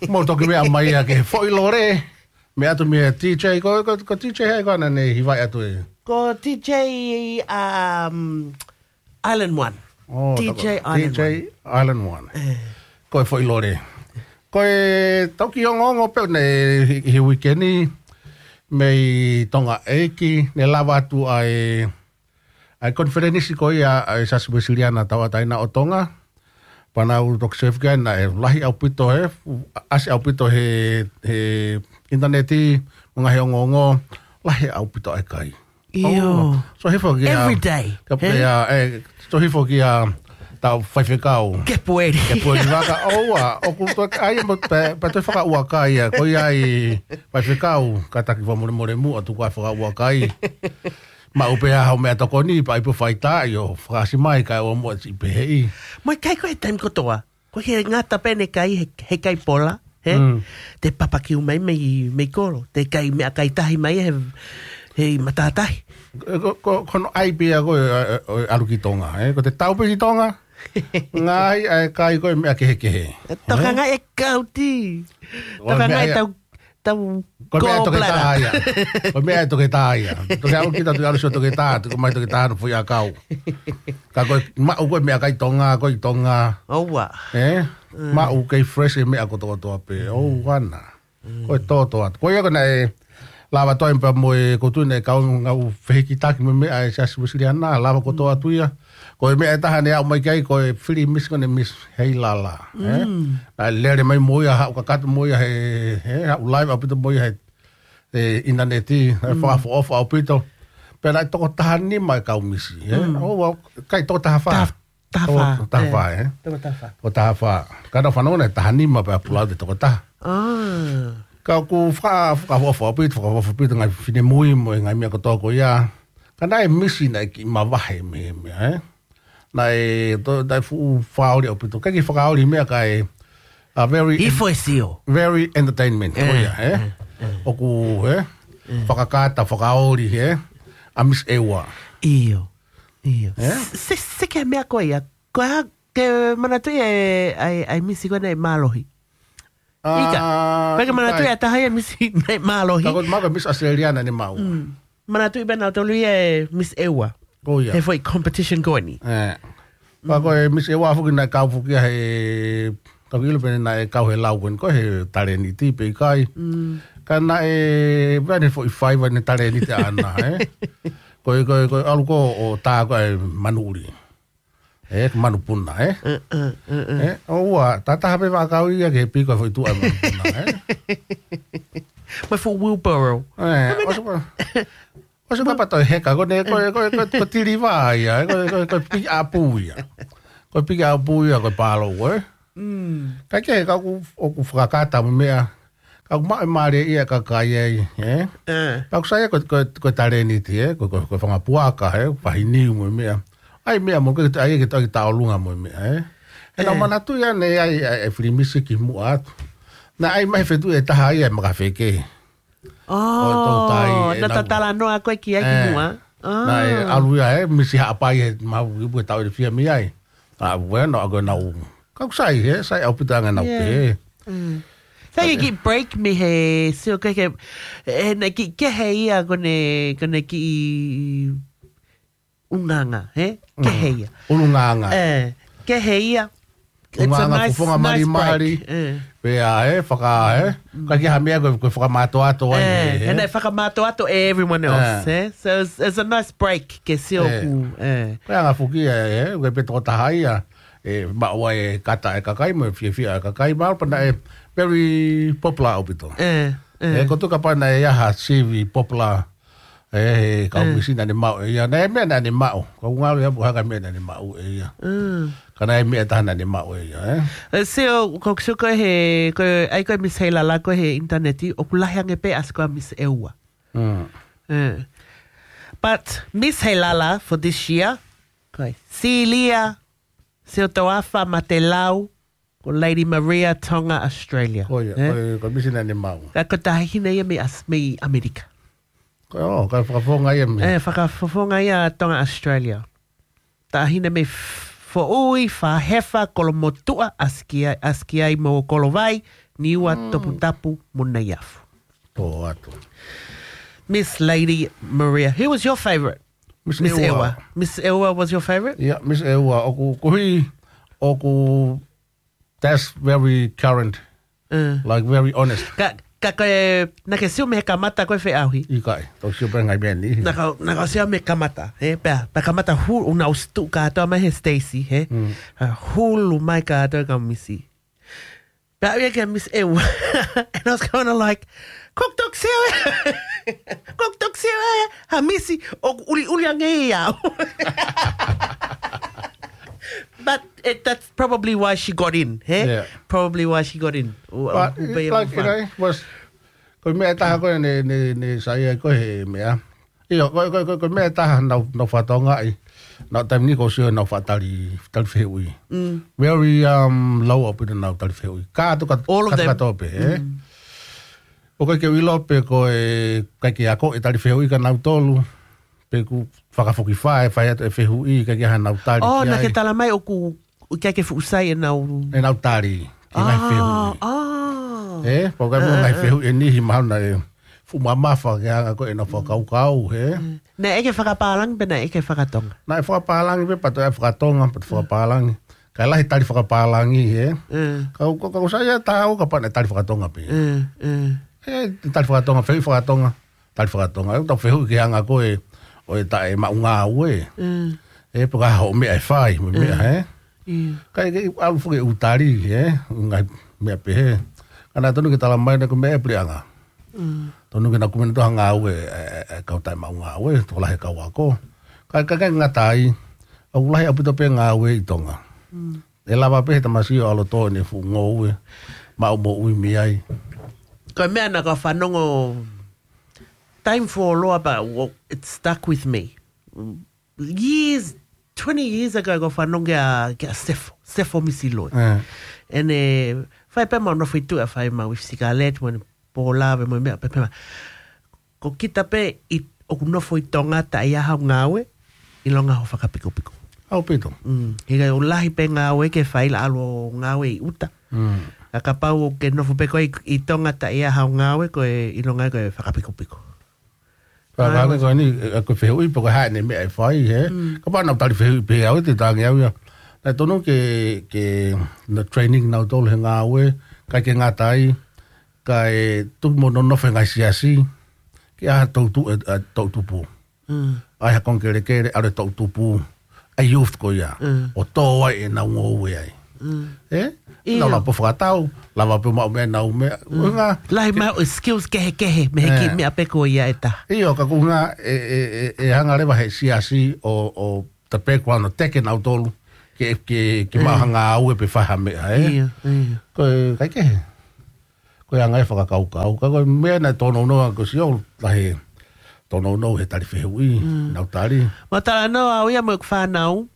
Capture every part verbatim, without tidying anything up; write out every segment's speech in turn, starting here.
Mou toki meʻa mai ia ke foʻi lole. Meʻa atu mei he D J, ko, ko, ko D J hai ko ena ne hivaʻi atu e? Ko D J, um, Island One. Oh, D J tā ko, Island D J One. Island One. Eh. Ko e foʻi lole. Ko e tau ki ongoongo pē ne he, he weekend ni mei Tonga ʻEiki, ne lava atu ai ʻa e konifelenisi ko ia ʻa e Siasi Uēsiliana Tauʻatāina ʻo Tonga. Pea naʻa ku toki save ki ai naʻe lahi ʻaupito he, ʻasi ʻaupito he, he ʻinitaneti, mo e ngaahi ongoongo, lahi ʻaupito ʻa e kai. ʻIo. ʻOua, sio hifo ki he, every day, ka he? Pea, eh, sio hifo ki he tau faifekau. Ke pueri. Ke pueri vaka, ʻoua, ʻoku toe ʻai mo pē, pē toe fakaʻuakai ia, ko ia ʻa e faifekau, kātaki fakamolemole muʻa tuku ʻa e fakaʻuakai. Maʻu pē ʻa hoʻo meʻatokoni, pea ʻai pē faitā ʻo fakaʻasi mai kae ʻoua muʻa ʻe siʻi peheʻi. Mo e kai ko e taimi kotoa. Ko e ngata pē ʻene kai he, he kai pola, he? Mm. Te papakiu mai mei, mei kolo. Te kai meʻakai tahi mai he, he matātahi. Ko, ko, ko hono ʻai pē ia ko e, e, e, ʻalu ki Tonga, he? Ko te tau pē ki Tonga, ngaahi ʻa e kai ko e meʻa kehekehe. Toka ngaahi e kauti. Ko e meʻa ia. Toka ngaahi tau Tau Ko e meʻa ʻe toketā ia. Ko e meʻa ʻe toketā ia. Toki ʻalu kita, toki ʻalu sio toketā, toki mai toketā hono foʻi ʻakau. Ka ko e maʻu ko e meʻakai Tonga, ko e Tonga. ʻOua. Eh? Mm. Maʻu kei fresh e meʻa kotokotoa pē. Mm. ʻOua naʻa. Mm. Ko e toto atu. Ko ia ko ena ʻe lava toe pea mo e ko tu ne kau ngau fehikitaki mo e meʻa ʻa e Siasi Uēsiliana, lava kotoa atu ia. Ko e meʻa ʻe taha ne aʻu mai ki ai, ko e fili misi ko ena Miss Heilala, eh? Mm. Naʻe lele mai mo ia, haʻu kakato mo ia he, he, haʻu live ʻaupito mo ia he, he ʻinitaneti, naʻe Mm. fakaʻofoʻofa ʻaupito. Pea naʻe toko taha nima e kau misi, eh? Mm. ʻOua, kai toko taha fā. Taha, taha Toko, fā, toko taha eh. fā, eh? Toko taha fā. Toko taha fā. Ka naʻa ku fanongo naʻe taha nima pea pulau te toko taha. Ah. Ka ʻoku faka-, fakaʻofoʻofa ʻaupito, fakaʻofoʻofa ʻaupito ngaahi finemui mo e ngaahi meʻa kotoa ko ia. Ka naʻe misi naʻe kiʻi mavahe mei he meʻa, eh? Naʻe, to, naʻe fuʻu fakaoli ʻaupito. Ka kiʻi fakaoli meʻa kae, a very en-, Hifo e sio. very entertainment. Ko Eh, ia, eh? eh, eh. ʻOku, eh? Eh. Fakakata, fakaoli, eh? ʻA Miss ʻEua. ʻIo. ʻIo. Eh? Se, se ke meʻa ko ia. Ko e hā, ke manatuʻi e, ʻa e, ʻa e misi ko ena ʻe mālohi. Ika. Ah, Pea ke manatuʻi ʻikai. ʻA e taha ia misi naʻe mālohi. Ka ko e maʻu ko e Miss Australia naʻa ne maʻu. Mm. Manatuʻi pē nautolu ia e Miss ʻEua. Ko ia. He foʻi competition ko eni. Eh. Ka ko e Miss ʻEua foki naʻe kau foki ia he, ka ʻilo pē naʻe kau he lau ko eni ko e he talēniti pe ʻikai. Mm. Ka naʻe, pea ne foʻi faiva ne talēniti ʻana, eh. Ko e, ko e, ko e ʻalu ko ē ʻo tā ko e manuʻuli. Eh, ko e manupuna, eh. Uh, uh, uh, uh. Eh, ʻoua, tā taha pē vaʻakau ia ke piko foʻi tuʻa e manupuna, eh. Mo e fuʻu wheelbarrow. Eh, Ko e meʻa ʻosi ko, ʻosi ko pea toe heka, ko ʻene, ko, ko, ko, ko tiliva ia, eh, ko, ko, ko pick up ia. Ko pick up ia, ko palo, eh. Mm. Ka ke, ka ʻoku, ʻoku fakakata mo e meʻa, ka ʻoku maʻu e mālie ia kakai ai, eh. Eh. Ka ʻoku sai ia ko, ko, ko talēniti, eh, ko, ko, ko e fanga puaka, eh, fahiniu mo e meʻa. ʻAi meʻa mo ke, ʻai ke toe ki taolunga mo e meʻa, eh. He naʻa Eh. manatuʻi ʻanai ʻa e, ʻa e, ʻa e fili misi ki muʻa atu. Naʻe ʻai mai he feituʻu ʻe taha ia e makafeke. Oh, ʻo e toutai, ʻe naʻa nau. Talanoa ko ē ki ai ki Eh. muʻa. Naʻe Ah. ʻalu ia, eh, misi Haʻapai he mahu ipu e tau ʻe fia mei ai. Ah, bueno, ʻa ko ʻenau. Ka ʻoku sai, eh, sai ʻaupito ʻa ʻenau Yeah. pē. Mm. Sai ke kiʻi break mei he sio ke ke, eh, naʻe kiʻi kehe ia ko ʻene, ko ʻene kiʻi ʻulungaanga, he? Mm. Kehe ia. ʻUlungaanga. Eh, kehe ia. It's a ʻUlungaanga nice, fofonga nice malimali. break. Eh. Pea, eh, faka, eh. Mm. Ka ke ha meʻa ko, ko fakamātoato ai, Eh, eh, and eh. they fakamātoato everyone else, Eh. eh? So it's, it's a nice break ke sio Eh. ku, eh. Ko e anga foki, eh, eh, ko e pe toko taha ia, eh, maʻu ai e kata e kakai, mo e fiefia e kakai, maʻu pē naʻe very popular ʻaupito. Eh, eh. Eh, ko tuka pē naʻe ʻi ai ha sivi popular, eh, he kau Eh. misi naʻa ne maʻu ʻe ia. Naʻe meʻa naʻa ne maʻu. Ka ʻoku ngalo ia pu haka meʻa naʻa ne maʻu ʻe ia. Mm. Ka naʻe meʻa taha naʻa ne maʻu ʻe ia, eh. Eh, sio, ko, sio ko e he, ko e, ʻai ko e Miss Heilala ko e he ʻinitaneti, ʻoku lahi ange pē ʻasi ko e Miss ʻEua. Mm. Eh. But Miss Heilala for this year, ko e Celia Siotoafa Matelau, ko Lady Maria Tonga Australia. Ko ia, Eh? ko e, ko e misi naʻa ne maʻu. Ka ko e taʻahine ia mei ʻAs-, mei ʻAmelika. Ko, oh, ka fakafofonga ia mei. Eh, fakafofonga ia Tonga Australia. Taʻahine mei F-, Foʻui, Fāhefa, Kolomotuʻa, ʻAsi ki ai, ʻAsi ki ai mo Kolovai, Niua, Toputapu, mo Naiafu. Tō atu. Miss Lady Maria, who was your favourite? Miss Ewa. Miss Ewa was your favourite? Yeah, Miss Ewa. ʻOku, koeʻuhi, ʻoku, that's very current. Like, very honest. Ka, ka ko e, naʻa ke sio mei he kamata ko e feʻauhi? ʻIkai, tau sio pē ngaahi meʻa ni. Naʻa kau, naʻa kau sio mei he kamata, he, pea, pea kamata hulu, ʻuna ʻosi tuʻu kātoa mai he Stacy, he? Hulu mai kātoa e kau misi. Pea ʻave ia kia Miss Ewa. And I was kinda like, "Kok tok sio e." Kok tok sio e, ha misi, ʻoku ʻuliʻuli ange ia. But it, that's probably why she got in, he? Yeah. Probably why she got in. But, like, you know, was, ko e meʻa ʻe taha ko ē ne, ne, ne saiʻia ko ē he meʻa. ʻIo, ko, ko, ko, ko e meʻa ʻe taha naʻa ku, naʻa ku fakatokangaʻi. Naʻa ku taimi ni ʻoku ou sio naʻa ku fakatali, tali fehuʻi. Very, um, low ʻaupito naʻa ku tali fehuʻi. Kātoa, kātoa, all of them. Kātoa pē, he? ʻOku ʻikai ke u ʻilo pe ko e, ʻikai ke ako e tali fehuʻi kia nautolu. Pe ʻoku fakafokifā e fai atu e fehuʻi, ʻikai ke ʻi ai haʻanau tali ki ai. Oh, naʻa ke talamai ʻoku, ʻikai ke fuʻu sai ʻenau, ʻenau tali ki he ngaahi fehuʻi. Oh. He, pau ʻikai mo e ngaahi fehuʻi ʻe niʻihi mahalo naʻe fuʻu mamafa ki he anga ko ē ʻenau fakakaukau, he. Naʻe ʻikai ke fakapālangi pe naʻe ʻikai ke fakatonga? Naʻe fakapālangi pē, pea toe fakatonga, pea toe fakapālangi. Kae lahi tali fakapālangi, he. Ka, ka, ka ʻoku sai ia tāu kapau naʻe tali fakatonga pē. He, tali fakatonga, fehuʻi fakatonga, tali fakatonga. ʻOku tau fehuʻi ki he anga ko ē ʻo e taʻe maʻu ngāue. He, pe ko e hā hoʻo meʻa ʻe fai, mo e meʻa, he. ʻIkai ke ʻalu foki ʻo tali, he, ngaahi meʻa pehē. Ka naʻe tonu ke talamai naʻe ʻikai ko e meʻa ia e puleʻanga. Tonu ke nau kumi atu ha ngāue, e, e, e kau taʻe maʻu ngāue, tokolahi e kau ako. Ka, ka, ka ngata ai, ʻoku lahi ʻaupito pē ngāue ʻi Tonga. ʻE lava pē he tamasiʻi ʻo ʻalu ʻo tō ʻene fuʻu ngoue, maʻu moʻui mei ai. Ko e meʻa naʻa ku fanongo, time foloa, but wo-, it stuck with me. Years, twenty years ago, ko e fanongo kia, kia Sefo, Sefo Misiloe. ʻEne, fai pē mau nofo ʻi tuʻa, fai mau ʻi Sikaleti, mo ʻene pōlave, mo e meʻa pē pē ma. Ko kita pē ʻi, ʻoku nofo ʻi Tonga taʻe ʻi ai haʻo ngāue, ʻilonga hoʻo fakapikopiko. ʻAupito. He ʻoku lahi pē ngāue ke fai, ʻalu ʻo ngāue ʻi ʻuta. Ka kapau ʻoku ke nofo pē koe ʻi, ʻi Tonga taʻe ʻi ai haʻo ngāue, ko e ʻilonga ko e fakapikopiko. Ka, ka, ka, ko eni, e, ko e fehuʻi pe ko e hā ʻene meʻa ʻe fai, he? Kapau naʻa ku tali fehuʻi pē au, te tangi au ia. Naʻe tonu ke, ke, na training nautolu he ngāue, ʻikai ke ngata ai, kae tuku mo nonofo he ngaahi siasi, ke ʻai ha toʻutu-, e, e, toʻutupu. ʻAi ha konga kelekele, ʻalu e toʻutupu, ʻa e youth ko ia. ʻO tō ai ʻenau ngoue ai. He? ʻIo. Nau lava pē ʻo fakatau, lava pē ʻo maʻu meʻa ʻenau meʻa. Lahi mai ʻo skills kehekehe, mei he kiʻi meʻa pē ko ia ʻe taha. ʻIo, ka ko e ʻuhinga ʻe, ʻe, ʻe, ʻe hanga leva he siasi ʻo, ʻo the background ʻo teke nautolu, ke, ke, ke maʻu ha ngāue pe fai ha meʻa, he? ʻIo, ʻio. Ko e, ʻikai ke he. Ko e anga e fakakaukau. Ka ko e meʻa naʻe tōnounou ʻa ko sio lahi tōnounou he tali fehuʻi, nau tali. Mau talanoa au ia mo ʻeku fānau.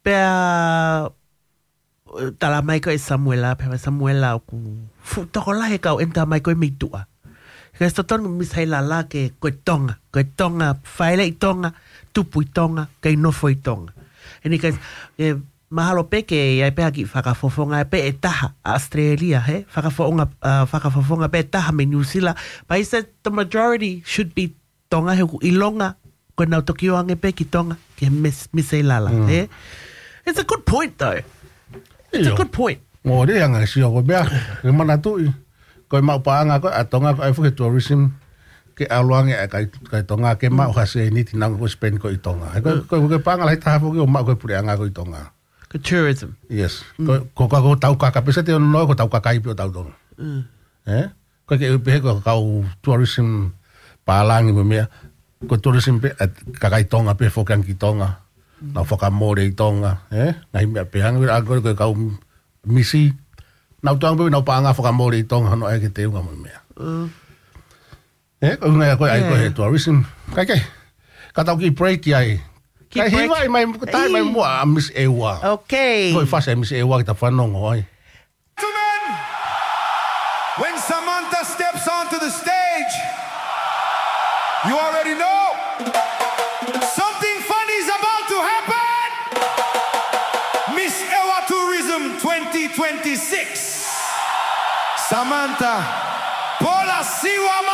Pea, talamai ko ē ʻe Samuela, pea Samuela ʻoku fuʻu tokolahi e kau ʻenta mai ko ē mei tuʻa. Ka ʻoku totonu Miss Heilala ke ko e Tonga, ko e Tonga, fāʻeleʻi Tonga, tupu ʻi Tonga, kei nofo ʻi Tonga. ʻEni ka, e, mahalo pē ke ʻi ai pē ha kiʻi fakafofonga pē ʻe taha ʻa ʻAositelēlia, he? Fakafofonga, ʻa, fakafofonga pē ʻe taha mei New Zealand. But he said the majority should be Tonga, he ʻoku ʻilonga ko ʻenau toki ō ange pē ki Tonga, ki he Miss, Miss Heilala, he? It's a good point, though. It's a good point. Mole anga sio ko e meʻa, ke manatuʻi. Ko e maʻu paʻanga ko ē ʻa Tonga ko e ʻai foki e tourism, ke ʻalu ange ʻa e kai, kai Tonga, ke maʻu ha sēniti naʻa nau spend ko ē ʻi Tonga. He ko, ko, ko e paʻanga lahi taha foki ʻoku maʻu ko ē ʻe he puleʻanga ko ē ʻi Tonga. Ko e tourism. Yes. Ko, ko, ko, ko e taukaka, pē se te ono ko e taukaka ipi ʻo tautolu. He? Ko e ke pehē ko e kau tourism pālangi mo e meʻa. Ko e tourism pē, ʻa e kakai Tonga pē foki ange ki Tonga. Nau fakamole ʻi Tonga, he? Ngaahi meʻa pē hangē ko e kau misi. Nau tau pē nau paʻanga fakamole ʻi Tonga, hono ʻai ke teunga mo e meʻa. He, ko e ʻuhinga ia ko ē ʻai ko ē he tourism. Kae kehe. Ka tau kiʻi break ai. Kae hivaʻi mai, tai mai muʻa ʻa Miss Ewa. Okay. Ko e fasi ʻa Miss Ewa ke ta fanongo ai. Gentlemen, when Samantha steps onto the stage, you already know something funny is about to happen. twenty-six. Samantha Polasiwa Masi.